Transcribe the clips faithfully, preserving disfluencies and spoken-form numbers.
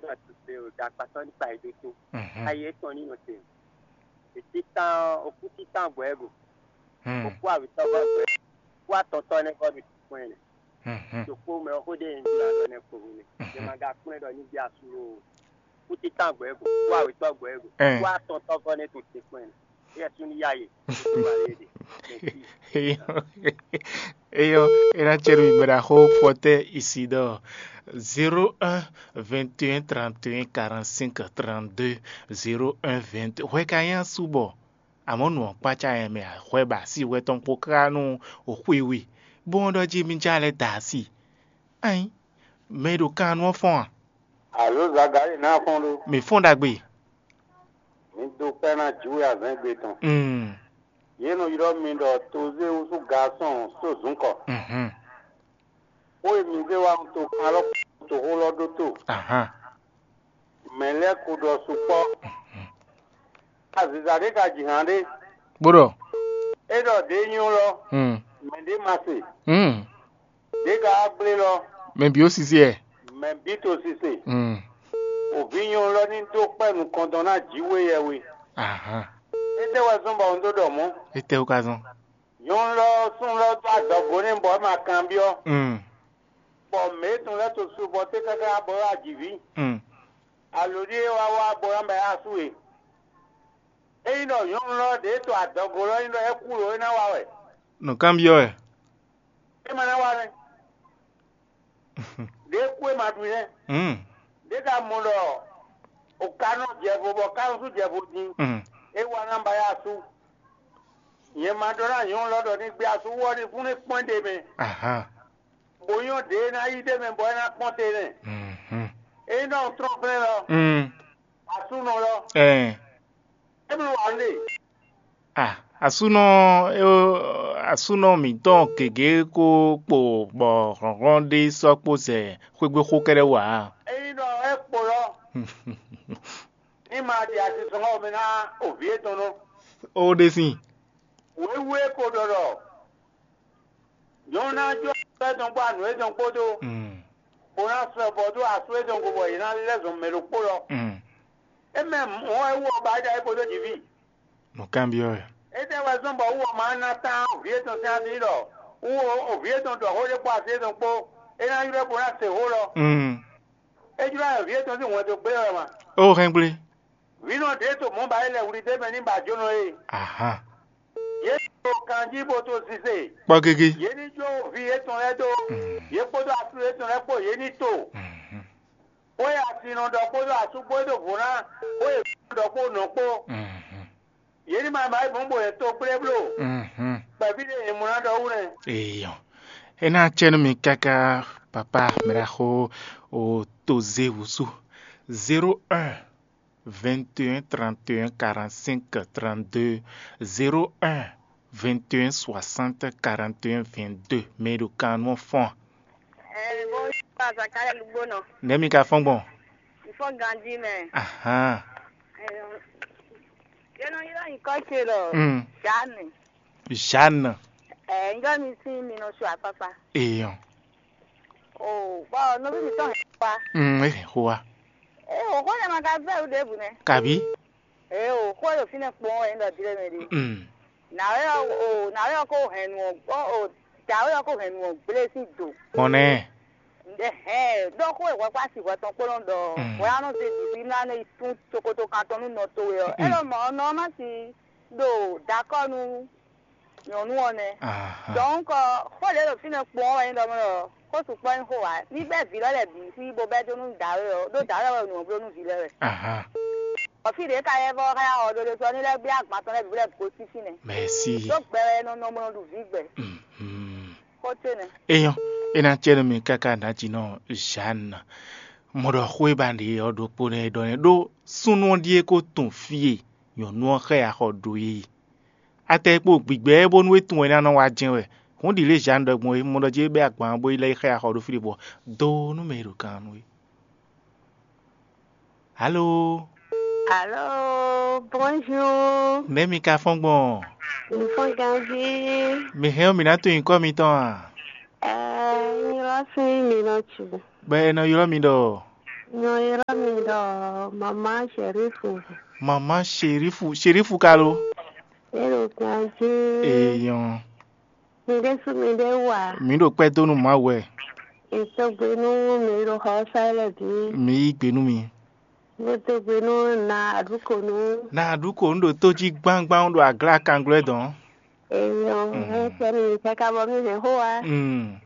Nɔ tute o, ɖo akpatɔ ní kpa yi ɖó tó. Mhm. Ayi etɔn ní nɔ te. Ètítàn, òkú títàn gbɔ ɛ go. Hmm. Òkú àwítɔ́ gbɔ ɛ go. Òkú àtɔ̀tọ̀ nɛ gbɔ ɖo tìkpɔn ɛ nɛ. Mhm. Ɖokpó mɛ ɔ́ xó ɖé yẹn jí alɔ nɛ kpo hu nɛ. Mhm. Yɛ ma ga kplɔ́n ɖɔ ní bí asú o. Òkú títàn gbɔ ɛ go. Òkú àwítɔ́ gbɔ ɛ go. Eh. Òkú àtɔ̀tɔ́ gbɔ nɛ to tìkpɔn ɛ nɛ. Yɛ sú ní yá yě. Eyɔ, eyɔ, é ná cɛ nú mi bɔ ɖo axó kpɔtɛ́ Isidɔ́ɔ, zéro un, vingt et un, trente et un, quarante-cinq, trente-deux, zéro un, vingt. Hwɛ ka nyí asú bɔ, amɔ̌ nǔ ɔ́ kpácá nyɛ mɛ hwɛ ba sí hwɛ tɔn kpó ká nú xwíwí, bó ɔ́ ɖɔ jí mi já lɛ́ da asi. Ayin, mɛ e ɖo kan nú ɔ́ fɔ́n a? Alo Zagali ná fɔ́n ɖó. Mǐ fɔ́n ɖagbe. Mi dó kpɛ́ ná jǐwe azɛ̌ngbe tɔn. Mm. Yě nɔ ylɔ́ mi ɖɔ tozéwúsú gasɔn só zǔnkɔ. Mhm. Xó e mi zé wá to kan lɔ to xó lɔ ɖótó. Ahan. Mɛ lɛ́ɛ ko ɖɔ sukpɔ́. Aziza ɖé ka ji hǎn ɖé. Bó ɖɔ. É ɖɔ ɖě nyɔ́ lɔ. Mm. Mɛ ɖé ma se. Mm. Ɖě ka wá gblé lɔ. Mɛ bǐ ó sisi ɛ. Mɛ bǐ to sise. Mm. Òví nyɔ́ lɔ ní dó kpɛ́ nukɔntɔn ná jǐwe yɛ we. Ahan. Étɛ́ wɛ zɔ́n bɔ un dó ɖɔ mɔ̌? Étɛ́ wú ka zɔ́n? Nyɔ̌nu lɔ ɔ́, súnnu lɔ́ dó adɔgo n'i bɔ é ma kanbyɔ́, Mm. bɔ mɛ̌ tɔn lɛ́ɛ to su bɔ té káká bɔ é wá ji vǐ. Mm. Alo ɖíe é wá wá bɔ é wá mɛ asú e? Ényí ɖɔ nyɔ̌nu lɔ ɖě to adɔgo lɔ nyí ɖɔ é kú lǒ é ná wa wɛ, Nǔkanbyɔ́ wɛ. É ma ná wa nɛ́. Ɖě kú é ma ɖu nɛ́. Mm. Ɖě ka mɔ ɖɔ o ka nɔ jɛ vo bɔ ka nɔ sú jɛ vo din, Mm. é wá ná ba yá asú. Nyɛ ma ɖɔ ná nyɔ̌nu lɔ ɖɔ ní gbé asú wú ɔ́ ní fún ní kpɔ́n ɖe mɛ, Ahan. bó nyɔ́ ɖě e ná yí ɖ'é mɛ bɔ é ná kpɔ́n te nɛ́. Mhm. Ényí ɖɔ un tlɔ́n flɛ́n lɔ, Mm. asúnɔ lɔ, Ɛɛ. é bló wǎ lé. Ah, asúnɔ, eh, asúnɔ mǐtɔn gěgé kó kpo bɔ hlɔ̌nhlɔ́n ɖé sɔ́ kpó zɛ xwégbé xó kɛ́ɖɛ́ wú ǎ. Ényí ɖɔ é kpo lɔ, ní ma ɖi asisɔngɔ́ mɛ ná òvǐ étɔn nɔ. Ó ɖe sín. Wěwú é ko ɖɔ ɖɔ nyɔ̌nu ná jó asú étɔn kpó anǔ étɔn kpódó, Mm. bó ná sɔ́ ɛ bɔ dó asú étɔn gbe bɔ yě ná lɛ́ zɔn mɛ ɖokpó lɔ. Mm. É mɛ mɔ̌ wɛ wú ɔ́ ba é ɖa é kpódó jǐví. Nǔkanbyɔ́ wɛ. Étɛ́ wɛ zɔ́n bɔ wú ɔ́ ma ná tán vǐ étɔn sín asi ɖɔ wú ɔ́, vǐ étɔn ɖɔ xó ɖé kpó asi étɔn kpó, é ná ylɔ́ ɛ bó ná se xó lɔ. Mm. É jló ayɔ vǐ étɔn sín wɛn dó gblé wɛ ma. Ó hɛn gblé. Vǐnɔ ɖě to mɔ̌ ba é lɛ wlí d'é mɛ ní ba jónɔ é. Ahan. Yě to kanjí bó to sise. Kpɔ́ gégé. Yě ní jó vǐ étɔn lɛ́ɛ dó. Mm. Yě kpódó asú étɔn lɛ́ɛ kpó yě ní to. Mhm. Xó e asin nɔ ɖɔ kpódó asú kpó e ɖo vo ná, xó e vǐ nɔ ɖɔ kpó nɔ kpó. Mhm. Yě ní ma ba é mɔ̌ bó yě to kplé bló. Mhm. Kpɛví ɖé yě mɔ ná ɖɔ wú nɛ́. Eyɔn. É ná cɛ nú mi káká, papa mɛɖaxó o to zé wǔsú. Zéro un, vingt et un, trente et un, quarante-cinq, trente-deux, zéro un, vingt et un, soixante, quarante et un, vingt-deux. Mɛ e ɖo kan nú ɔ́ fɔ́n. Ɛɛ, bó Zakalɛ Lugbónɔ. Nɛ̌ mi ka fɔ́n gbɔn? Fɔ́n ganjí mɛ. Ahan. Yě nɔ ylɔ́ nyǐkɔ ce ɖɔ Mm. Jeanne. Jeanne. Ɛɛ, njɔ mi sín mi nɔ su akpakpa. Eyɔn. O, bɔ nɔví mi tɔn hɛn xó wa. Mm, é hɛn xó wa. Ee, o xó lɛ ma ka vɛ wú ɖěbǔ nɛ. Kabi? Ee, o xó ɖo fínɛ́ kpɔ́n wɛ nyí ɖɔ dilé mɛ ɖé. Mm. Nǎwe ɔ́, o, nǎwe ɔ́ ko hɛn nǔ ɔ́, o, dǎwe ɔ́ ko hɛn nǔ ɔ́ gblé sín do. Mɔ̌ nɛ́. Hɛn, ɖɔ xó e hwɛkpá si hwɛ tɔn kpó nɔ ɖɔ, Mm. Hwɛ ɔ́ nɔ zé ɖi fí mlá nɛ yi tún cokoto kan tɔn nú nɔ towe ɔ́. Mm. É ɖɔ mɔ̌ nɔ ɔ́ má si ɖo dakɔ́ nú nyɔ̌nu ɔ́ nɛ́. Ahan. Donc, xó ɖě ɖo fínɛ́ kpɔ́n wɛ nyí ɖɔ mɔ ɖɔ xó sukpɔ́ nyí xó ǎ. Ní bɛ́ vǐ lɔ lɛ́ɛ bǐ xwí bó bɛ́ dó nú dǎwe ɔ́, ɖó dǎwe wɛ nǔ ɔ́ bló nú vǐ lɛ́ɛ wɛ. Ahan. Bɔ fí ɖě ka yɛ vɔ xá ya xɔ ɖó ɖésú ɔ́, ní lɛ́ gbé agban tɔn lɛ́ɛ bǐ bó lɛ́ gosín fínɛ́. Merci. Ɖó gbɛ wɛ nɔ nɔ bó nɔ ɖu vǐ gbɛ. Mhm. Xó ce nɛ́. Eyɔn, é ná cɛ nú mi káká nǎjínɔ Jeanne. Mɔ ɖɔ xó e ba ɖe ɔ́ ɖokpó nɛ́ é ɖɔ nɛ́ ɖó súnnu ɔ́ ɖíe ko tunwun fí e nyɔ̌nu ɔ́ xá ya xɔ ɖó é. Atɛ e kpo gbigbɛ ɛ bónú é tunwun ɛ ná nɔ wá jɛ́n wɛ. Hǔn ɖi lě Jeanne ɖɔ gbɔn é, mɔ ɖɔ jí é bɛ́ agban ɔ́ bó yi lɛ́ yi xá ya xɔ ɖó fí ɖé bɔ dó nú mɛ e ɖo gannú é. Alo. Alo, bonjour. Nɛ̌ mi ka fɔ́n gbɔn? Mi fɔ́n ganjí. Mi hɛn ɔ́, mǐ ná tunwun nyǐkɔ mitɔn a? Ɛɛ, nyí lɔ sín mi nɔ cu. Bɔ è nɔ ylɔ́ mi ɖɔ? Nyɔ ylɔ́ mi ɖɔ mama Sherifu. Mama Sherifu, Sherifu ka lo? E ɖo ganjí. Eyɔn. Mi ɖésú mi ɖé wa. Mi ɖo kpɛ́ dó nú Mawu wɛ. Etɔgbe nú mi ɖo xɔ sa lɛ bǐ. Mi yí gbe nú mi. Mo dó gbe nú na aɖúkonu. Na aɖúkonu ɖo tó jí gbangban ɖo aglá kanglɔ́ dɔn. Eyɔn, mm, ɛ sɛ mi káká bɔ mi hɛn xó wa. Mm.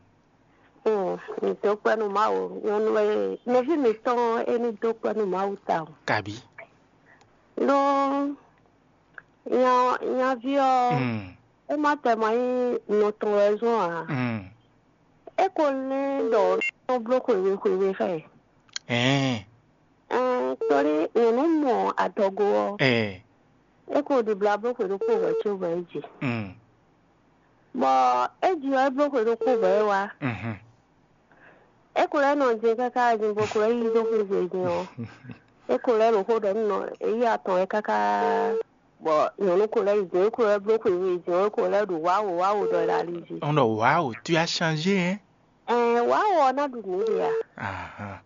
Mm, mi dó kpɛ́ nú Mawu. Nyɔnu e nɔví mi tɔn é ní dó kpɛ́ nú Mawu tawun. Kabi. Nú nya nyaví ɔ́, mm, é má tɛ ma nyí nɔ tɔn wɛ zɔ́n ǎ. Mm. É ko lɛ́n ɖɔ nɔ bló xwewé xwewé xá ɛ. Ɛɛ. Ɛɛ, tóli nyɔ̌nu mɔ adɔgo ɔ́, ɛɛ. É ko ɖibla bló xwe ɖokpó hwɛ̌ có hwɛ̌ é ji. Mm. Bɔ é ji ɔ́, é bló xwe ɖokpó hwɛ̌ é wá. Mhm. É ko lɛ́ nɔ jɛ káká din bó ko lɛ́ yí dó xwé gbe din ɔ́, é ko lɛ́ ɖo xó ɖɔ nú nɔ é yí atɔn wɛ káká. Bɔ nyɔ̌nu ko lɛ́ yi din, é ko lɛ́ bló xwe we din ɔ́, é ko lɛ́ ɖo wǎwo wǎwo ɖɔ ɖo ali jí. Un ɖɔ wǎwo, tu as changé, hein? Ɛɛ, wǎwo ɔ́ ná ɖu nǔ ɖe a? Ahan.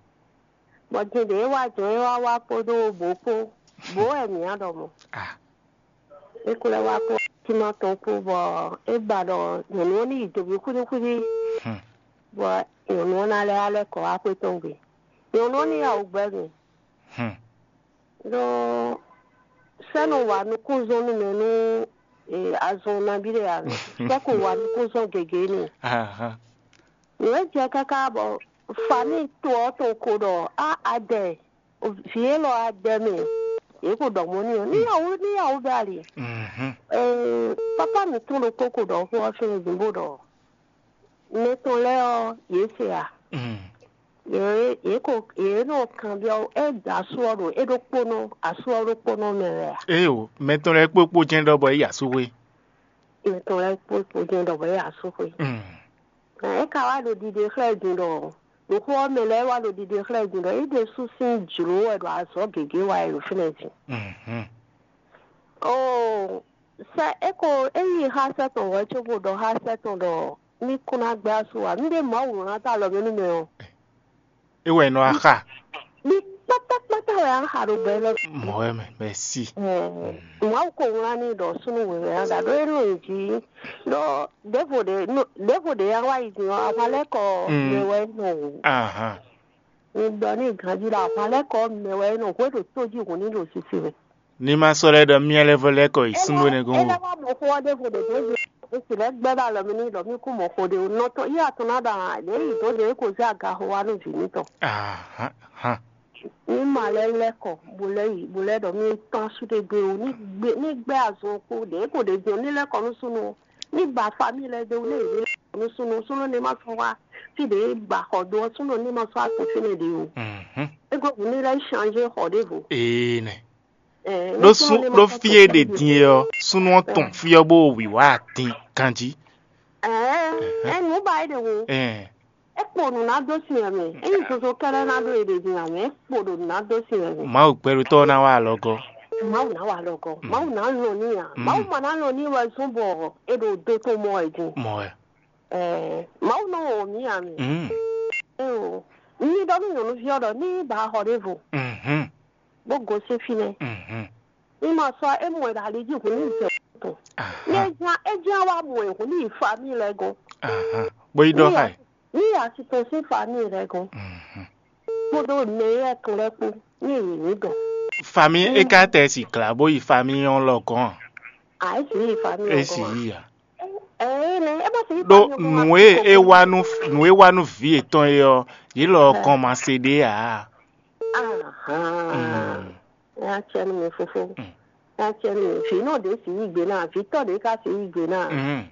Bɔ din ɖě é wá jɔ̌n é wá wá kpódó bǒ kpó, bǒ wɛ mǐ á ɖɔ mɔ̌. Ah. É ko lɛ́ wá kpó símá tɔn kpó, bɔ é ba ɖɔ nyɔ̌nu ɔ́ ní yi doví xwíɖíxwíɖí, hmm, bɔ nyɔ̌nu ɔ́ ná lɛ́ wá lɛ́ kɔ wá xwé tɔn gbe. Nyɔ̌nu ɔ́ ní yá wǔ gbɛ́ mì. Hmm. Ɖó sɛ́ nɔ wa nukúnzɔ́nnú mɛ nú, e, azɔn nabí ɖé ǎ mɛ. Sɛ́ ko wa nukúnzɔ́n gěgé n'i. Ahan. Nǔ e jɛ káká bɔ famíi to ɔ́ tɔn ko ɖɔ á adɛ, vǐ élɔ́ adɛ mɛ, yě ko ɖɔ mɔ̌ n'i ɔ́, ní yá wǔ, ní yá wǔ bɛ ali. Mhm. Ee, pápá mǐtɔn ɖokpó ko ɖɔ xó ɔ́ fɛ́n din bó ɖɔ mɛ tɔn lɛ́ɛ ɔ́, yě se a? Mm. Yě, yě ko, yě nɔ kanbyɔ́ é da asú ɔ́ ɖo é ɖokpónɔ, asú ɔ́ ɖokpónɔ mɛ wɛ a? Éyo, mɛ tɔn lɛ́ɛ kpókpó jɛ́n ɖɔ bɔ é yi asúxwé. Mɛ tɔn lɛ́ɛ kpókpó jɛ́n ɖɔ bɔ é yi asúxwé. Mm. É ka wá ɖo ɖiɖe xlɛ́ din ɖɔ, ɖo xó ɔ́ mɛ lɛ́ɛ wá ɖo ɖiɖe xlɛ́ din ɖɔ é ɖésú sín jlǒ wɛ ɖo azɔ̌ gěgé wa wɛ ɖo fínɛ́ din. Mhm. Oo, sɛ é ko é yi xá sɛ́ tɔn hwɛ̌ cóbó ɖɔ xá sɛ́ tɔn ɖɔ ní kún ná gbɛ́ asú ǎ. Nú ɖé Mawu wlán dó alɔ mɛ nú mɛ ɔ́, É wɛ è nɔ wá xa. Ní kpátákpátá wɛ á xa ɖo gbɛ lɔ. Mɔ̌ wɛ mɛ, mɛ̌si. Ɛɛ, Mawu ko wlán n'i ɖɔ súnnu wěwé á ɖa ɖó é nɔ nyi jí ɖɔ ɖěvo ɖě nɔ- ɖěvo ɖě yá wá yi din ɔ́, ahwan lɛ́ɛ kɔ Mm. mɛ wɛ é nɔ wǔ. Ahan. Mi ɖɔ n'i ganjí ɖɔ ahwan lɛ́ɛ kɔ mɛ wɛ é nɔ hwé ɖo tó jí hǔn ní ɖo sisi mɛ. Ní ma sɔ́ lɛ́ ɖɔ myá lɛ́ vɔ lɛ́ kɔ yi súnnu énɛ́ gɔ́n o. Ela wá mɔ xó ɔ́ ɖěvo ɖě dó zé, é sì lɛ́ gbɛ́ ɖo alɔ mì n'i ɖɔ mí kú mɔ xo ɖé o. Nɔ tɔn yí atɔn ná ɖɔ ǎ, ɖě yi dǒ ɖě é ko zé aga xo wá nú vǐ mítɔn. Ahan, han. Ní ma lɛ́ lɛ́ kɔ, bó lɛ́ yi, bó lɛ́ ɖɔ mí tɔn asú ɖé gbe o, ní gbé ní gbɛ́ azɔn kpó ɖě ko ɖě din ɔ́, ní lɛ́ kɔ nú súnnu ɔ́, ní ba famíi lɛ́ɛ ɖé wú, ní yě ní lɛ́ kɔ nú súnnu, súnnu ní ma sɔ́ wá fí ɖě ba xɔ dó ɔ́, súnnu ní ma sɔ́ atɔn fínɛ́ ɖě o. Mhm. É gɔ́ hǔn ní lɛ́ changé xɔ ɖěvo. Ee nɛ. Ɛɛ, Ɖó ní súnnu sún ní ma ɖó sɔ́ fí atɔn e ɖe fínɛ́ ɖě din é ɔ́, súnnu ɔ́ tɔn fí ɔ́ bó wǐwá atin ganjí. Ɛɛ, Ɛhɛn. Ɛ nǔ ba é ɖe wo. Ɛɛ. É kpo nǔ ná dó sin ɛ mɛ. É nyí zozo kɛ́ɖɛ́ ná ɖó e ɖe din ǎ mɛ. É kpo ɖo nǔ ná dó sin ɛ mɛ. Mawu gbɛɖutɔ́ ɔ́ ná wá alɔgɔ́. Mawu ná wa lɔ gɔ́. Mm. Mawu ná lɔn ní ǎ. Mm. Mawu ma ná lɔn ní wɛ zɔ́n bɔ é ɖo dó tó mɔ ɛ din. Mɔ ɛ. Ɛɛ, Mawu nɔ wɔn mǐ ǎ mɛ. Mm. Éo, ní ɖɔ nú nyɔ̌nuví ɔ́ ɖɔ ní ba xɔ ɖěvo, Mhm. Bó gosín fínɛ́. Mhm. Ní ma sɔ́ é mɔ ɛ ɖo ali jí hǔn ní zɛ tɔn. Ní é Ahan. Ján é ján wá mɔ ɛ hǔn ní yi famíi lɛ́ɛ gɔ́n. Ahan. Bó yi ɖɔ Ní xá ɛ. Ní yi asi tɔn sín famíi lɛ́ɛ gɔ́n. Mhm. Kpódó mɛ éyɛ́ tɔn lɛ́ɛ kpó ní yě ní dɔn. Famíi é ka tɛ si glǎ bó yi famíi ɔ́ lɔ gɔ́n a? À é sì yí famíi É ɔ́ sì gɔ́n. Yí a? Ɛɛ, nɛ é bó sì yí Ɖó famíi ɔ́ gɔ́n nǔ wá e é wá nú nǔ e wá nú vǐ yětɔn é ɔ́, yě lɔ Ɛ. Gɔn ma se ɖé ǎ. Ahan. Mm. Ɛ á cɛ nú mi fofó. Mm. Ɛ á cɛ nú mi. Vǐ nɔ ɖě sì yí gbe ná, vǐ tɔ́ ɖě ka sì yí gbe ná. Mm.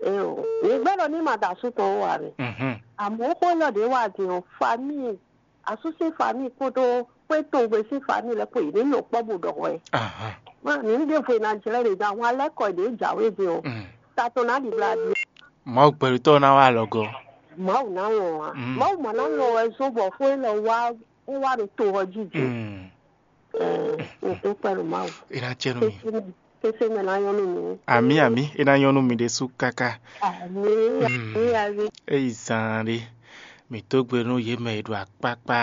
Eo, mi gbɛ́ ɖɔ ní ma da asú tɔn ó wá mɛ. Mhm. Àmọ́ xó élɔ́ ɖě wá din ɔ́, famíi, asú sín famíi kpódó xwé tɔn gbe sín famíi lɛ́ɛ kpó yě ní nɔ kpɔ́ bó ɖɔ hwɛ. Ahan. Má ní ɖěvo e ná jlɛ́ ɖě dó ahwan lɛ́ɛ kɔ ɖě jǎwe din ɔ́, Mm. Ta tɔn ná ɖibla ɖi. Mawu gbɛɖutɔ́ ná wá alɔgɔ́. Mawu ná lɔn ǎ. Mm. Mawu ma ná lɔn wɛ zɔ́n bɔ xó élɔ́ wá é wá ɖo to ɔ́ jí din. Mm. Ɛɛ, mi dúpẹ́ nú Mawu. É ná jɛ nú mi. Kése mɛ ná nyɔ́ nú mi. Àmì àmì, é ná nyɔ́ nú mi ɖésú káká. Àmì, Mm. Àmì, àmì. É yi zaan ɖé. Mǐ dó gbe nú yě mɛ e ɖo akpákpá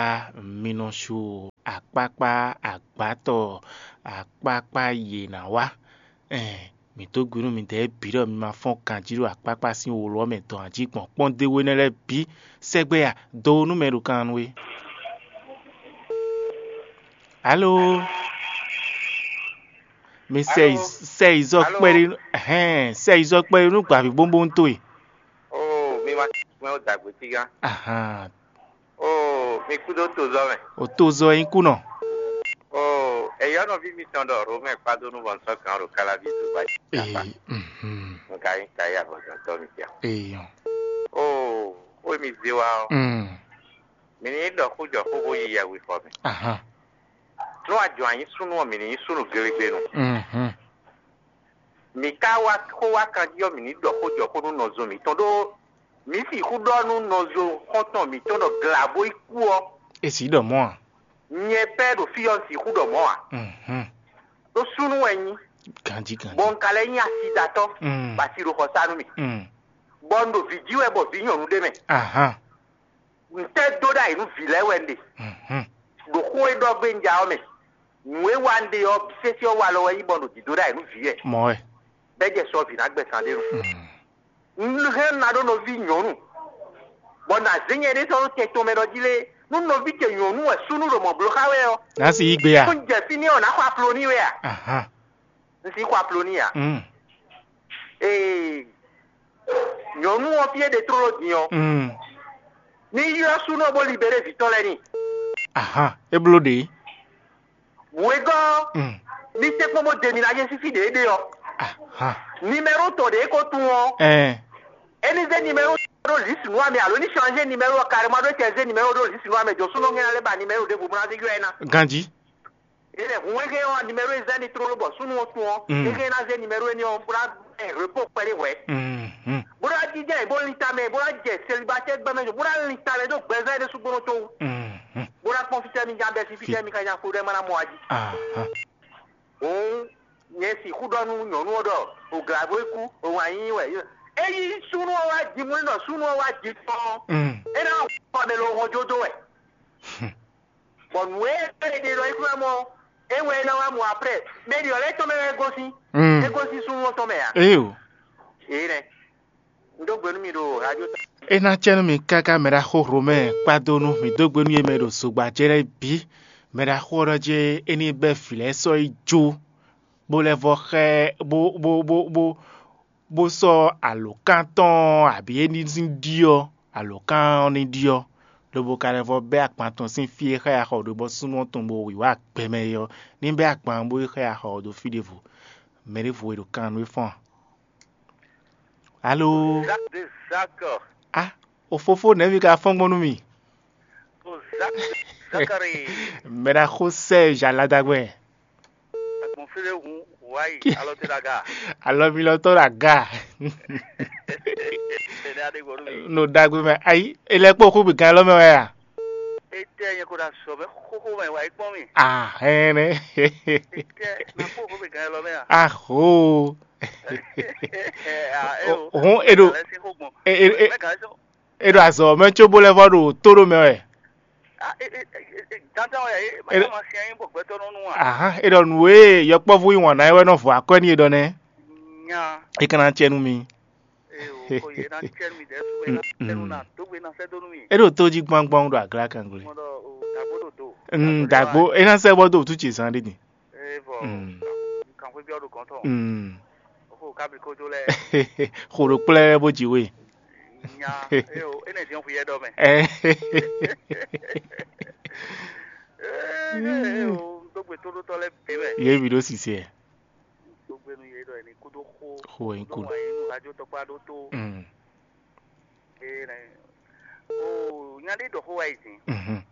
mi nɔ su akpákpá agbǎtɔ akpákpá yě ná wá. Ɛn, mǐ dó gbe nú midɛɛ bǐ ɖɔ mi ma fɔ́n ganjí ɖo akpákpá sín wlɔ mɛ dɔn ǎ jí gbɔn kpɔ́ndéwénɛ́ lɛ́ɛ bǐ sɛgbɛ a do nú mɛ ɖo kan nú we. Alo, mi sɛ yi sɛ yi zɔ kpɛɖé hɛn sɛ yi zɔ kpɛɖé nú gbǎví bóbónú towe. Oo, mi ma mɛ o dagbe tigán. Ahan. Oo, mi kúdó tozɔ mɛ. O tozɔ e nyí kúnɔ. Oo, eyɔ́ nɔví mitɔn ɖɔ Romɛ kpado nú vɔ̌nsɔ́ kan ɖo Kalaví zogba jí. Ee, mhm. Nka nyí tayi avɔzɔntɔ́ mi tia. Ee, yɔn. Oo, xó e mi zé wá ɔ́, Mm. Mi ní ɖɔ xó jɔ xó bó yi yɛhwexɔ mɛ. Ahan. Nú a jɔ a nyí súnnu ɔ́, mǐ ní nyí súnnu glegbenu. Mhm. Mǐ ka wá xó wá kanjí ɔ́, mǐ ní ɖɔ xó jɔ xó nú nɔzo mǐtɔn ɖó mǐ sixú ɖɔ nú nɔzo xɔ́ntɔn mǐtɔn ɖɔ glǎ bó yi kú ɔ́, E sì ɖɔ mɔ̌ a? Nyɛ pɛ́ ɖo fí ɔ́ un sixú ɖɔ mɔ̌ ǎ. Mhm. Ɖó súnnu wɛ nyí, Ganjí ganjí. Bɔ un ka lɛ́ nyí asidatɔ́, Mm. Bɔ asi ɖo xɔ sa nú mì. Mm. Bɔ un ɖo vǐ jí wɛ bɔ vǐ nyɔ̌nu ɖé mɛ. Ahan. Ntɛ́ dó ɖ'ayǐ nú vǐ lɛ́ɛ wɛ un ɖe? Mhm. Ɖo xó e ɖɔ gbé un ja ɔ́ mɛ, nǔ e wa un ɖe ɔ́, sésé ɔ́ walɔ wɛ nyí bɔ un ɖo dǐdó ɖ'ayǐ nú vǐ wɛ. Mɔ̌ wɛ. Bɛ́ jɛ sɔ vǐ ná gbɛ sán ɖé nu. Mm. Un hɛn ná ɖó nɔví nyɔ̌nu, bɔ nǎ zé nyɛ ɖé sɔ́ ɖó tɛn tɔn mɛ ɖɔ jí lé, nú nɔví ce nyɔ̌nu wɛ súnnu ɖo mɔ̌ bló xá wɛ ɔ́, Nǎ si yí gbe a? Nú un jɛ fí n'i ɔ́, nǎ xɔ aplo n'i wɛ a? Ahan. Un sixú aplo n'i a? Mm. Ee, nyɔ̌nu ɔ́ fí e ɖe tlóló din ɔ́, Mm. Ní ylɔ́ súnnu ɔ́ bó libéré vǐ tɔn lɛ́ɛ n'i. Ahan, é bló ɖě. Wěgɔ́, Mm. Ní tɛ́nkpɔ́n bó ɖe mi ná jɛ sín fí ɖě é ɖe ɔ́, Ahan. Nimɛ́ro tɔn ɖě é ko tunwun ɔ́, Ɛn. É ní zé nimɛ́ro ɖó lǐsi nú amɛ alo ní chanzé nimɛ́ro ɔ́ karɛ́ma ɖó é tɛ zé nimɛ́ro ɖó lǐsi nú amɛ jɔ súnnu ɔ́ ná lɛ́ ba nimɛ́ro ɖěvo bó ná zé ylɔ́ ɛ ná. Ganjí. É lɛ́ hun é hɛn ɔ́, nimɛ́ro e zɛ́n ní tlóló bɔ súnnu ɔ́ tunwun ɔ́, Mm. É hɛn ná zé nimɛ́ro énɛ́ ɔ́ bó ná hɛn repó kpɛɖé hwɛ̌. Mhm. Bó ná jínjɛ́n yě bó lin tamɛ, bó ná jɛ selibatɛ́ gbɛmɛ bó ná lin tamɛ dó gbɛzán énɛ́ súgbónɔ tɔn wú. Mhm. Bó ná kpɔ́n fítɛ́ mì nya bɛ́ sín fítɛ́ mì ka nya xo ɖɔ é má ná mɔ wá jí. Ahan. Hǔn nyɛ sixú ɖɔ nú nyɔ̌nu ɔ́ ɖɔ òglǎ bó kú, òwǎn yíyí wɛ. Ényí súnnu ɔ́ wá ji mú nɔ súnnu ɔ́ wá ji tɔn, Mm. É ná xɔ mɛ lɔ hɔn jó dó wɛ. Bɔ nǔ e é ɖe ɖɔ é kún ná mɔ é wɛ é ná wá mɔ aprɛ́, mɛ ɖi ɔ́ lɛ́ tɔn mɛ wɛ é gosín. Mm. É gosín súnnu ɔ́ tɔn mɛ ǎ. Eyo. Ě nɛ́. Un dó gbe nú mi ɖo radio ta. É ná cɛ nú mi káká mɛɖaxó Hlomɛ kpado nú mǐ dó gbe nú yě mɛ ɖo zogba ce lɛ́ɛ bǐ. Mɛɖaxó ɔ́ ɖɔ jɛ́n é ní bɛ́ vǐ lɛ́ɛ sɔ́ yi jó, bó lɛ́ vɔ́ xá ɛ, bó bó bó bó bó sɔ́ alǒkan tɔn abǐ é ní sín ɖyɔ́, alǒkan ɔ́ ní ɖyɔ́, lobo ka lɛ́ vɔ́ bɛ́ agban tɔn sín fí e xá ya xɔ ɖo bɔ súnnu ɔ́ tɔn bo wǐwá gbɛmɛ é ɔ́, ní bɛ́ agban ɔ́ bó yi xá ya xɔ ɖo fí ɖěvo. Mɛ ɖěvo e ɖo kan nú é fɔ́n a? Alo? Zak de Zak. Ah, o fofo nɛ̌vi ka fɔ́n gbɔn nú mì? O Zak de Zakari. Mɛɖaxó Serge Aladagbɛ. Agbɔnflé hun wáyi alɔ tɛ daga. Alɔ mi lɔ tɔ ɖo aga. Tɛnɛ aɖe gbɔ nú mi. No ɖagbe mɛ ayi, e lɛ kpó xúgbe gan lɔ mɛ wɛ a? Etɛ nyɛ ko ɖo azɔ mɛ xóxó mɛ wáyi kpɔn mi. Ah, hɛn nɛ. Etɛ na kpó xóxó mɛ gan lɔ mɛ a? Aho. Hɔn e ɖo e e e e ɖo azɔ mɛ tso bó lɛ vɔ ɖo tó ɖo mɛ wɛ. Dandan wɛ e ma ma sian yín bɔ gbɛtɔ nɔ nu wa. Ahan, e ɖɔ nǔ e yɔkpɔ́vú yí wǎn ná é wɛ nɔ vɔ akwɛ́ n'i e ɖɔ nɛ́. Nya. E ka ná cɛ nú mi. Ee o, ko yě ná cɛ nú mi dɛ̌ sú e ná cɛ nú ná dó gbe ná sɛ́ dó nú mi. E ɖo tó jí gbɔngbɔn ɖo agla kan gblé. Mo ɖɔ o dàgbó ɖo do. Mm, dàgbó e ná sɛ bɔ do tu ce zan ɖe din. Ee vɔ Mm. Kan xwé biɔ ɖo gɔn tɔn. Mm. O ko kabli kojo lɛ. Xo ɖo kplɛ bó ji we. Nya. Ee o, e nɛ diɔn xuyɛ ɖɔ mɛ. Eh. Ee o, dó gbe tó ɖó tɔ lɛ bi mɛ. Ye bi ɖo sise. Dó gbe nu ye ɖɔ ni kúdó xó. Xo yin kú. Ɖó wà yín nu radio tɔkpa ɖó tó. Mm. Ee nɛ. O nya ɖé ɖɔ xó wa yi zin. Mhm.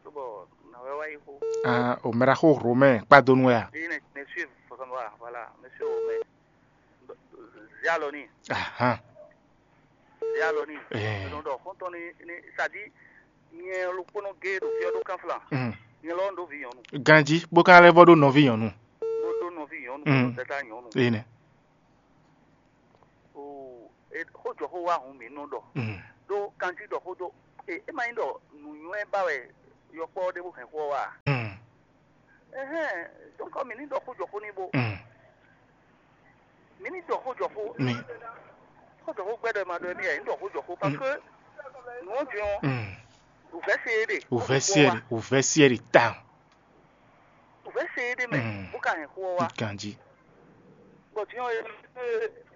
Tó bɔ nà wɛ wa yi xó. Ah, o mɛɖaxó Romain kpadonu wɛ a? Ee nɛ, mɛ suivre fɔsɔn wa, voilà, mɛ suivre o mɛ. Zialɔ ni. Ahan. Zialɔ ni. Eh. Nɔ ɖɔ xɔntɔn ni ni sadi nyɛ ɖokpónɔ gé ɖo fiɔ ɖó kanflan. Mm. Nyɛ lɔ ɖo vi nyɔnu. Ganji bó ka lɛ́ vɔ ɖó nɔví nyɔnu. Bó ɖó nɔví nyɔnu, Mm. Bó tata nyɔnu. Ee nɛ. O e xó jɔ xó wa hun mi nɔ ɖɔ. Mm. Ɖó kanji ɖɔ xó ɖó E é ma nyí ɖɔ nǔnywɛ́ ba wɛ yɔkpɔ́ ɖé bó hɛn xó ɔ́ wá a? Ɛhɛn, donc mi ní ɖɔ xó jɔ xó n'i bó. Mi ní ɖɔ xó jɔ xó. Mi Xó jɔ xó gbɛ́ ɖɔ ma ɖɔ mi ɛ ní ɖɔ xó jɔ xó parce que nǔ ɔ́ din ɔ́, wǔvɛ́ se é ɖe. Wǔvɛ́ se é ɖe. Wǔvɛ́ se é ɖe tawun. Wǔvɛ́ se é ɖe mɛ bó ka hɛn xó ɔ́ wá. Ganjí. Bɔ din ɔ́,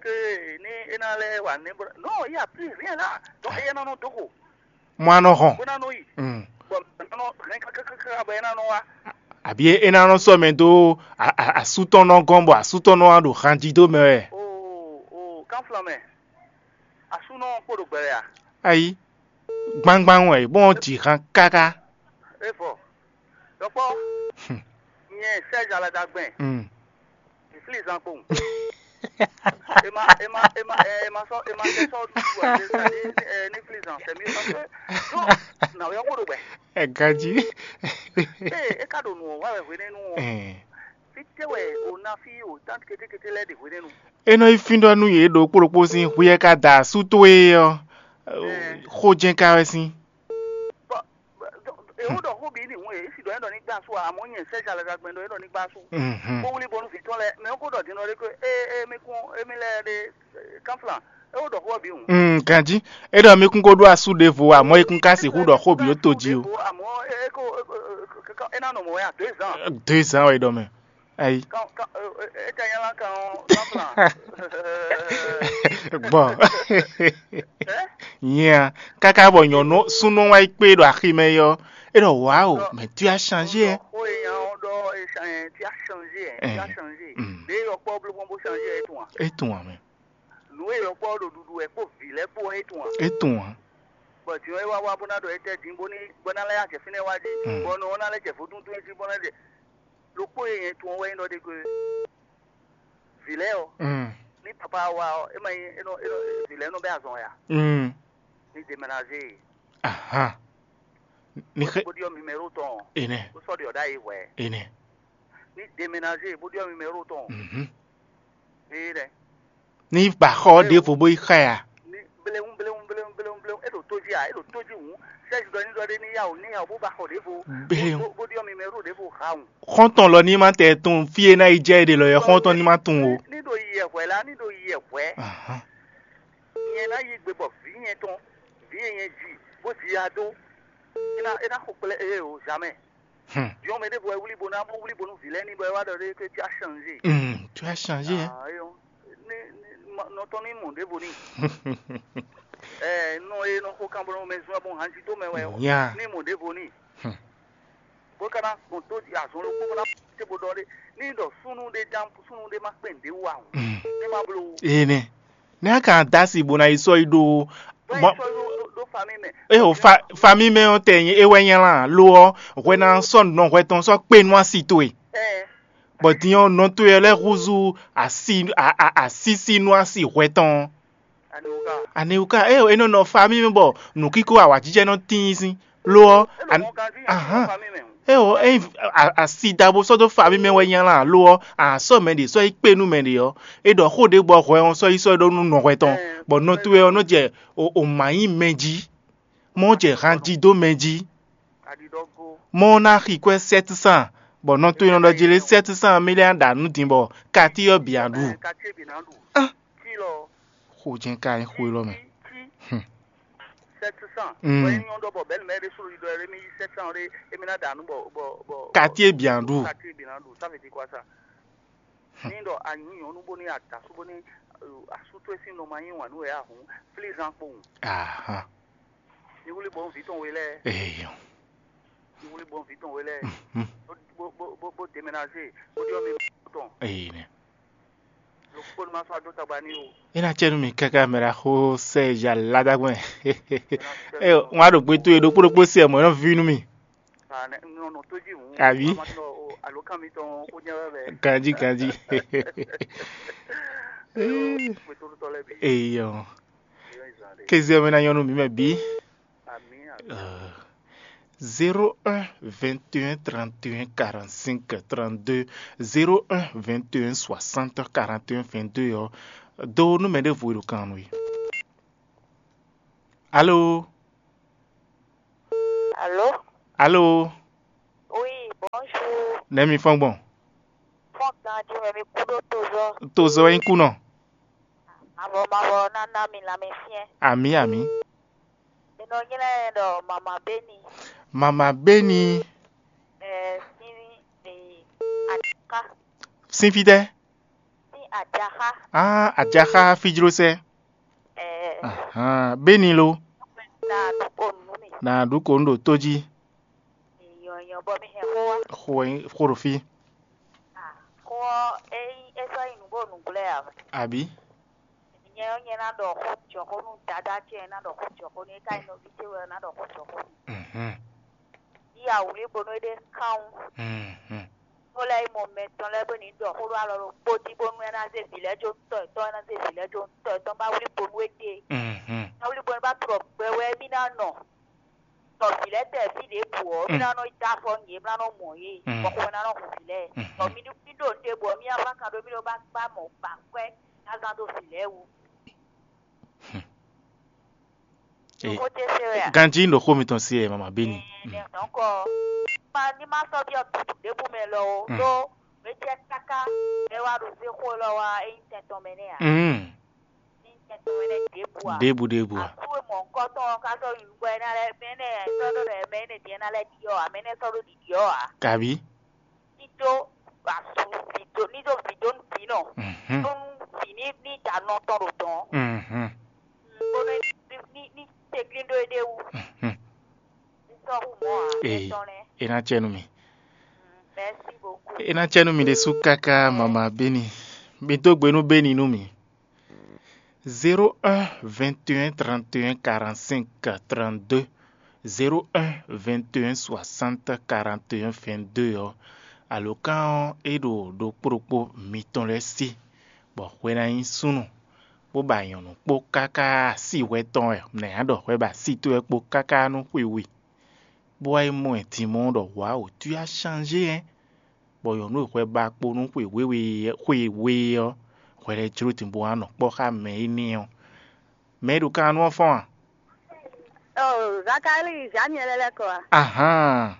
ke ní é ná lɛ́ wa nɛ́ bó nɔ il y a plus rien là. Donc éyɛ́ ná nɔ dó xo. Mɔ a nɔ hɔn. Bó ná nɔ yi. Mm. Bɔ é ná nɔ hɛn kákákáká bɔ é ná nɔ wá. Àbí é ná nɔ sɔ́ mɛ dó a- a- asú tɔn nɔ gɔ́n bɔ asú tɔn nɔ wá ɖo hanjí dó mɛ wɛ. O o kánflan mɛ. Asúnɔ kpó ɖo gbɛ wɛ a? Ayi, gbangban wɛ bɔn ji han káká. É vɔ. Dɔkpɔ. Nyɛ Serge Aladagbɛn. Mm. Flizan kpowun. Ema ema ema ema sɔ ema sɛ sɔ du ɛ ne flizan sɛ mi sɔ sɛ. So na wɛ ko do bɛ. Ɛ ganji. Ee e ka do nu wa wɛ hwenenu o. Fi te wɛ o na fi o tan kete kete lɛ de hwenenu. E nɔ yi fín ɖɔ nú yě ɖo kpóɖokpó sín hwíyɛ ká da asú towe ɔ́, xó jɛ́n ká wɛ sín. Ewo ɖɔ xó bǐ ní hun e esi ɖɔ ɛ ɖɔ ní gbá asú amɔ nyɛ sɛ jalɛ gagbɛn ɖɔ ɛ ɖɔ ní gbá asú. Kó wuli bɔnu vǐ tɔn lɛ mɛ kó ɖɔ din ɖɔ ɖé ko e e mi kún emi lɛ ɖe kanflan ewo ɖɔ xó bǐ hun. Mm, ganji. E ɖɔ mi kún ko ɖó asú ɖěvo amɔ e kún ka sixú ɖɔ xó bǐ ó to jí o. Amɔ e ko e na nɔ mɔ ya deux ans. Deux ans wɛ ɖɔ mɛ. Ayi. Kan kan e e ta nyala kan o kanflan. Gbɔ. Nyia kaka bɔ nyɔnu súnnu wá yi kpé ɖo axi mɛ yɔ, é ɖɔ wawo, mais tu as changé, hein. Xó e nya ɔ́ ɖɔ e cha- ɛ, ti a changé ɛ ti a changé. Ɖe yɔ kpɔ bló bó changé ɛ tún a. É tún wà mɛ. Nǔ e yɔ kpɔ ɖo ɖuɖu ɛ kpó vǐ lɛ́ kpó ɛ tún a. É tún wà. Bɔ tiwọn e wá wá bó ná ɖɔ étɛ́ din bó ní bó ná lɛ́ yá jɛ fínɛ́ wá jí, bɔ nɔ ɔ́ ná lɛ́ jɛ vodúndún jí bó ná jɛ. Ɖokpó e nyɛ tun ɔ́ wɛ nyí ɖɔ ɖé gbe. Vǐ lɛ́ɛ ɔ́, ní papa ɔ́ wá ɔ́, é ma nyí é nɔ é nɔ vǐ lɛ́ɛ nɔ bɛ́ azɔn ya. Ní deménagé e. Ahan. Ní xɛ Bó ɖyɔ́ mimɛɖó tɔn ɔ́, enɛ bó sɔ́ ɖyɔ̌ ɖ'ayǐ hwɛ̌. Enɛ. Ní deménagé e bó ɖyɔ́ mimɛɖó tɔn ɔ́, Mhm. Éé nɛ́. Ní ba xɔ ɔ́ ɖěvo bó yi xa ya. Ní bléwún bléwún bléwún bléwún bléwún é ɖo tó jí a é ɖo tó jí hǔn sɛ́zi ɖɔ ní ɖɔ ɖé ní yá o ní yá o bó ba xɔ ɖěvo. Bléwún. Bó bó ɖyɔ́ mimɛɖó ɖěvo ha hǔn. Xɔ́ntɔn lɔ ní ma tɛ tunwun fí e ná yi jɛ é ɖe lɔ yɛ xɔ́ntɔn ní ma tunwun o. Ní ɖo yi yɛ hwɛ̌ lá ní ɖo yi yɛ hwɛ̌. Ahan. Nyɛ ná yí gbe bɔ vǐ nyɛ tɔn vǐ e nyɛ ji bó ji ya dó é ná é ná xo kplé ée o zamɛ. Hmm. Diɔn mɛ ɖěvo wɛ wlí bo ná bó wlí bo nú vǐ lɛ́ɛ ní bɔ é wá ɖɔ ɖé que tu as changé. Hmm, tu as changé, hein. Ah, eyɔn. Ní ní nɔ tɔn ní mɔ ɖěvo ní. Ɛ nɔ e nɔ xo kan bɔ mɛ zun abɔ hanji tó mɛ wɛ Nya. Ní mɔ ɖěvo ní. Hmm. Bó ka ná gbɔn tó azɔn ló kpó bó ná té bó ɖɔ ɖé ní ɖɔ súnú ɖé dán súnú ɖé má kpɛn ɖě wú ahùn. Hmm. Ní má bló. Ene. Nɛ́ a ka da asi bó ná yi sɔ́ yi ɖó Ɖó mɔ- sɔ́ ɖó ɖó- ɖó famille mɛ. Eo fa famille mɛ ɔ́ tɛ nyí é wɛ nyí lan lo ɔ́ hwɛ ná sɔ́ nɔ hwɛ tɔn sɔ́ kpé nú asi towe. Ɛ Bɔ din ɔ́ nɔ towe lɛ́ɛ húzú asi a- a- asísí nú asi hwɛ tɔn. Aniwuka. Aniwuka eo é nɔ nɔ famille mɛ bɔ nǔkíkó awǎjijɛ nɔ tíin sín lo ɔ́ É nɔ an- mɔ ganjí yẹn ahán. Famille mɛ. Eo é a- asi dabo sɔ́ dó famille mɛ wɛ nyí lan lo ɔ́ a sɔ́ mɛ ɖě sɔ́ yi kpé nú mɛ ɖě ɔ́ é ɖɔ xó ɖě gbɔ hwɛ ɔ́ sɔ́ yi sɔ́ ɖó nú nɔ hwɛ tɔn bɔ nɔ towe ɔ́ nɔ jɛ o o mǎ nyí mɛ jí. Mɔ̌ jɛ han jí dó mɛ jí. Mɔ̌ ná xi kwɛ́ sɛ́t san, bɔ nɔ towe nɔ ɖɔ jí lé sɛ́t san mí lɛ́ ná ɖa nǔ din bɔ katíyɔ bǐ ná ɖu. Xo jɛ́n ka nyí xo élɔ́ mɛ. Sɛ́t san. Mm. Bɔ é nyɔ́ ɖɔ bɔ bɛ̌ nǔ mɛ ɖé sólo ɖiɖɔ ɛ mí yí sɛ́t san ɖé émí ná ɖa nǔ bɔ bɔ bɔ Katíyɔ bǐ ná ɖu. Katíyɔ bǐ ná ɖu. Ça veut dire quoi ça? Ní ɖɔ a nyǐ nyɔ̌nu bó ní ada sú bó ní asú towe sín nɔ ma nyí wǎn nú wɛ ǎ hǔn, flí zan kpowun. Ahan. Ní wlí bɔ vǐ tɔn we lɛ́ɛ. Eyɔ. Ní wlí bɔ vǐ tɔn we lɛ́ɛ. Mhm. Bó bó bó bó bó deménagé bó ɖyɔ́ mi tɔn. Eyi nɛ. Ɖokpó ní ma sɔ́ adó tagba ní o. É ná cɛ nú mi káká mɛ ɖaxó sɛ ya ládàgbɔn. Ɛ wọn á ɖo gbé tó e ɖokpó ɖokpó sɛ mɔ̌ é nɔ ví nú mi. Nɔ tó jí hùn. Àbí? Alo kan mi tɔn ó nyɛ wɛ. Ganji ganji. Eyɔ. Kézé mɛ ná nyɔnu mi mɛ bí. Zéro un vingt et un trente et un quarante cinq trente deux, zéro un vingt et un soixante quarante et un vingt deux ɔ́. Do nú mɛ ɖěvo e ɖo kan nú we. Alo. Alo. Oui, bonjour. Nɛ̌ mi fɔ́n gbɔn? Fɔ́n ganjí mɛ mi kú ɖó tozɔ́. Tozɔ́ wɛ nyí kú nɔ. Mavɔ mavɔ ná ná mi lanmɛsyɛn. Amǐ, amǐ. Mi nɔ nylá ɛ ɖɔ mama Beni. Mama Beni. Ɛ sín ɛ aɖaka. Sín fítɛ́? Sín aɖaxa. Ah, aɖaxa fíjlósɛ. Ɛ Ahan, Beni lo. Na ɖu ko nú mi. Na ɖu ko un ɖo tó jí. Nyɔnyɔ bɔ mi hɛn xó wá. Xó wɛ nyí xó ɖo fí. Xó ɔ́, é nyí é sɔ́ nyí nǔgbó nǔgblɛ́ ǎ. Abǐ? Nyɛ ɔ́, nyɛ ná ɖɔ xó jɔxó nú dadá ce, ná ɖɔ xó jɔxó nú é, ká nyí nɔví ce wɛ ná ɖɔ xó jɔxó nú. Mhm. Yí awǔlí bónú é ɖe kán wú. Mhm. Xó lɛ́ɛ nyí mɔ mɛtɔn lɛ́ɛ bó ní ɖɔ xó ɖó alɔ ɖokpó jí bónú é ná zé vǐ lɛ́ɛ jó tɔ yětɔn, é ná zé vǐ lɛ́ɛ jó tɔ yětɔn, bá wlí bónú é ɖe. Mhm. Bá wlí bónú bá trɔ gbɛ wɛ mì ná nɔ. Tɔ vǐ lɛ́ɛ tɛ fí ɖěbǔ ɔ́, mì ná nɔ yi dó afɔ nú yě, mì ná nɔ mɔ yě, bɔ xomɛ ná nɔ hun vǐ lɛ́ɛ. Bɔ mì ɖo nǔ ɖé bǔ ɔ́, mì ná fán kan ɖó mì ɖó ba kpá mɔ̌ kpa kwɛ́ ná gán dó vǐ lɛ́ɛ wú. Xó ce se wɛ a? Ganjí un ɖo xó mitɔn se wɛ, mama Beni. Ɛɛ, donc, ma ní ma sɔ́ byɔ́ tutú ɖěbǔ mɛ lɔ o, ɖó mɛ jɛ káká mɛ wá ɖo zé xó lɔ wá é nyí tɛn tɔn mɛ nɛ́ a? Mm. Ní tɛn tɔn mɛ nɛ́ ɖěbǔ a? Ɖěbǔ, ɖěbǔ a? Asú e mɔ̌hunkɔtɔn ɔ́ ka sɔ́ nyi nǔgbó ɛ ná lɛ́ mɛ nɛ́ sɔ́ ɖó ɖɔ mɛ énɛ́ din ɛ ná lɛ́ ɖiɖi ɔ́ ǎ, mɛ énɛ́ sɔ́ ɖó ɖiɖi ɔ́ ǎ. Kabí? Ní dó asú vǐ dó ní dó vǐ dó nú vǐ nɔ. Mhm. Dó nú vǐ ní ní da nɔ tɔn ɖo dɔ̌n. Mhm. Bónú ní ní ní tɛ́ntin ɖó éɖée wú. Mhm. Ní sɔ́ hú mɔ̌ ǎ, Ee, é tɔn nɛ́. É ná cɛ nú mi. Merci beaucoup. É ná cɛ nú mi ɖésú káká, mama Beni. Mi dó gbe nú Beni nú mi. Zéro un vingt et un trente et un quarante-cinq trente-deux, zéro un vingt et un soixante quarante et un vingt-deux ɔ́, alǒkan ɔ́ é ɖo ɖokpó ɖokpó mitɔn lɛ́ɛ sí, bɔ hwe ná nyí súnnu, bó ba nyɔ̌nu kpó káká. Así hwɛ tɔn wɛ nɛ̌ a ɖɔ hwɛ ba así towe kpó káká nú xwe we, bó wá yi mɔ ɛ din mɔ ɖɔ wǎ wǒ, tu a changé hɛn. Bɔ nyɔ̌nu e hwɛ ba kpo nú xwe wěwe xwe we ɔ́, hwɛ lɛ́ɛ jló din bó wá nɔ kpɔ́ xá mɛ énɛ́ ɔ́. Mɛ e ɖo kannú ɔ́ fɔ́n a? Oh, Zakali, Zaniɛl lɛ́ kɔ a? Ahán.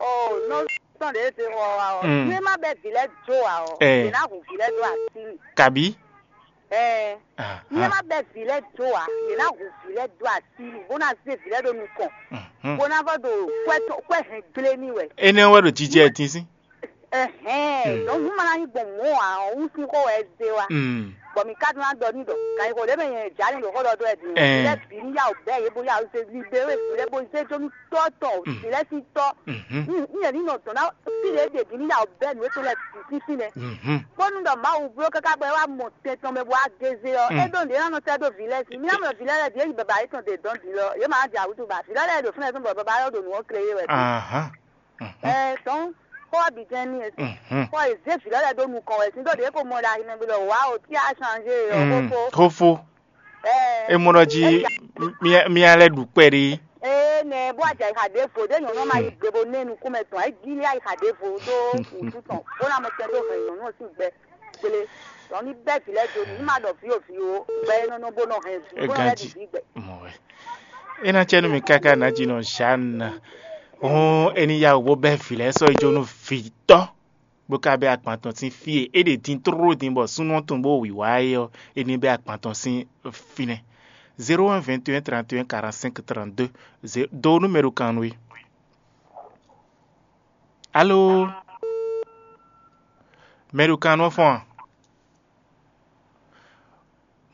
Oh, nɔ sɔn ɖě e te xɔ wa ɔ. Mm. Ní ma bɛ vǐ lɛ́ɛ jó a ɔ, Ɛ. È nǎ hu vǐ lɛ́ɛ dó así mì. Kabí? Ɛɛ. Ahán. Ní ma bɛ vǐ lɛ́ɛ jó a, è nǎ hu vǐ lɛ́ɛ dó así mì, bó ná zé vǐ lɛ́ɛ ɖo nukɔn, Mhm. Bó ná vɔ ɖo kwɛ tɔn kwɛ hɛn gblé n'i wɛ. Énɛ́ wɛ ɖo jijɛ ɛ tín sín. Ɛhɛn, Mm. Donc nú ma ná nyí gbɔn mɔ̌ ǎ ɔ́, wú sín xó wɛ é zé wá. Mm. Bɔ mǐ ka ɖó ná ɖɔ n'i ɖɔ, kan nyí xó ɖě mɛ nyɛ Jǎni ɖo xó ɖɔ dó wɛ din ɔ́, Ɛɛ. Vǐ lɛ́ɛ bǐ ní yá wǔ bɛ́ yě bó yá wǔ zé libéré vǐ lɛ́ɛ bó zé jó nú tɔ́ tɔn, Mm. Vǐ lɛ́ɛ sín tɔ́. Mhm. Ní ní yě ní nɔ dɔn ná fí ɖě ɖě bǐ ní yá wǔ bɛ́ nǔ étɔn lɛ́ɛ bǐ sín fínɛ́. Mhm. Bónú ɖɔ Mawu bló káká bɔ é wá mɔ tɛn tɔn mɛ bó wá gézé ɔ́, Mm. É ɖó nǔɖé ná nɔ sɛ́ dó vǐ lɛ́ɛ sí. Mí ná mɔ vǐ lɛ́ɛ lɛ́ɛ bǐ é yi baba yětɔn ɖe dɔn bǐ lɔ, yě ma jɛ awǔtu ba. Vǐ lɛ́ɛ lɛ́ɛ ɖo fínɛ́ tɔn bɔ baba lɛ́ɛ ɖo nǔ ɔ́ klé yé wɛ. Ahán. Mhm. Ɛ tɔn, xó ɔ́ bǐ jɛ́n ní e. Mhm. Xó ɔ́ è zé vǐ lɛ́ɛ lɛ́ɛ ɖó nukɔn wɛ sín ɖó ɖě ko mɔ ɖo ayi nɛgbé ɖɔ wǎ o tí a changé ɔ́ Mm. Xófó. Xófó. Ɛ É mɔ ɖɔ jí é ja- mía mía lɛ́ ɖu kpɛɖé. Ee nɛ bó a jɛ ayixa ɖěvo ɖé nyɔ̌nu ɔ́ ma yi gbe bó nɛ́ nukúnmɛ tɔn ɛ jí lé ayixa ɖěvo ɖó wǔtu tɔn bó ná mɔ tɛn dó hɛn nyɔ̌nu ɔ́ sín gbɛ gbélé. Tɔn ní bɛ́ vǐ lɛ́ɛ jó ní má ɖɔ vǐ o vǐ o gbɛ é nɔ nɔ bó nɔ hɛn vǐ bó nɔ lɛ́ ɖi vǐ gbɛ. Mɔ wɛ. É ná cɛ nú mi káká nǎjínɔ Jeanne. Hɔn é ní yá wǔ bó bɛ́ vǐ lɛ́ɛ sɔ́ yi jó nú vǐtɔ́, bó ka bɛ́ agban tɔn sín fí e é ɖe din tlóló din bɔ súnnu ɔ́ tunwun bó wǐwá é ɔ́, é ní bɛ́ agban tɔn sín fínɛ́. Zéro un vingt et un trente et un quarante-cinq trente-deux. Dó nú mɛ ɖo kan nú we. Alo? Mɛ ɖo kan nú ɔ́ fɔ́n a?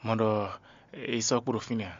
Mɔ ɖɔ é sɔ́ kpo ɖo fínɛ́ a?